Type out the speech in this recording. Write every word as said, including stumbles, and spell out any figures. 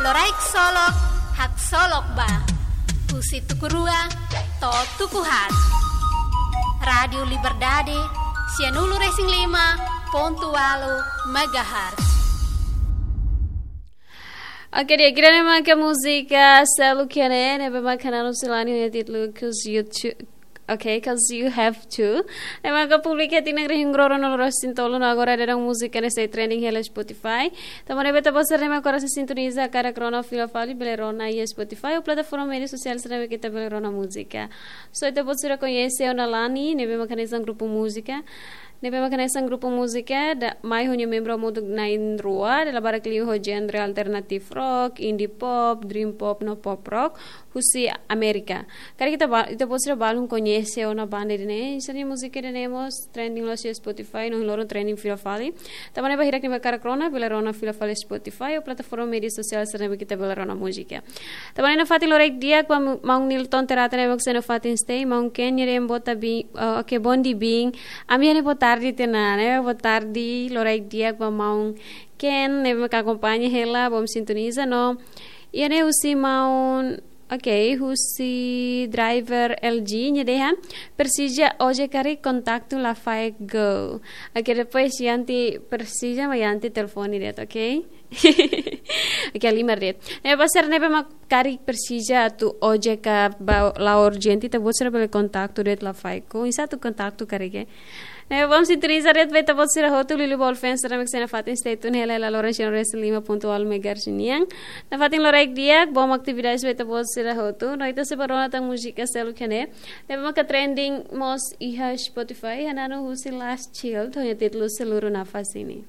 Loraik solok, haksolok ba. Husi tuku rua to'o tuku haat. Rádiu Liberdade, sianulu-resin-lima pontu ualu megahertz. Oke, di'ak, ida-ne'e maka múzika Selu Kene, ne'ebé maka nanum husi Lani ho títulu Cause You Too. Oke, Cause You Have To. Ne'ebé maka publika iha tinan rihun rua ruanulu-resin-tolu no agora daudaun múzika ne'e sei trending hela Spotify. Tanba ne'e ba ita-boot sira ne'ebé mak agora sei sintoniza karik rona fila fali, bele rona iha Spotify ou plataforma média sosiál sira ne'ebé ke ita bele rona múzika. So, ita-boot sira koñese ona Lani, ne'ebé maka hanesan grupu múzika. Ne'ebé maka hanesan grupu múzika, da, mai ho nia membru hamutuk na'in-rua, dala barak liu ho genre alternative rock, indie pop, dream pop no pop rock, husi Amérika. Karik ita ba-, ita-boot sira balun koñese ona banda ida-ne'e, sira-nia múzika ida-ne'e mós trending loos iha Spotify, no ohin loron trending fila fali. Tanba ne'e ba hirak ne'ebé hakarak rona, bele rona fila fali Spotify ou plataforma média sosiál sira ne'ebé ke ita bele rona múzika. Tanba ne'e nafatin loraik di'ak ba maun Nilton Terata ne'ebé mak sei nafatin stay, maun Ken, nia dehan boa ta-, bin, eh, oke, bonde bin. Ami hane boa tarde tiha ona, ne'e boa tarde, loraik di'ak ba maun Ken, ne'ebé mak akompaña hela, bom sintoniza no. Iha ne'e husi maun, oke, husi driver L G, nia dehan, presiza ojek karik kontaktu la faek go. Oke, depois Yanti presiza, maibé Yanti telefone de'it, oke? Oke, halimar de'it. Ne'e ba sira ne'ebé mak karik presiza atu ojek ka ba la'o urjente, ita-boot sira bele kontaktu de'it la faek go. Oinsá atu kontaktu karik, eh? Ne'e bom sintoniza de'it ba ita-boot sira hotu, liuliu ba All Fans sira ne'ebé mak sei nafatin stay tune hela iha laloran sianulu-resin-lima pontu ualu megahertz nian. Nafatin loraik di'ak, bom atividade ba ita-boot sira hotu. No ita sei bá rona tan múzika Selu Kene, ne'ebé maka trending mós iha Spotify, hananu husi Last Child, ho nia títulu Seluruh Nafas Ini.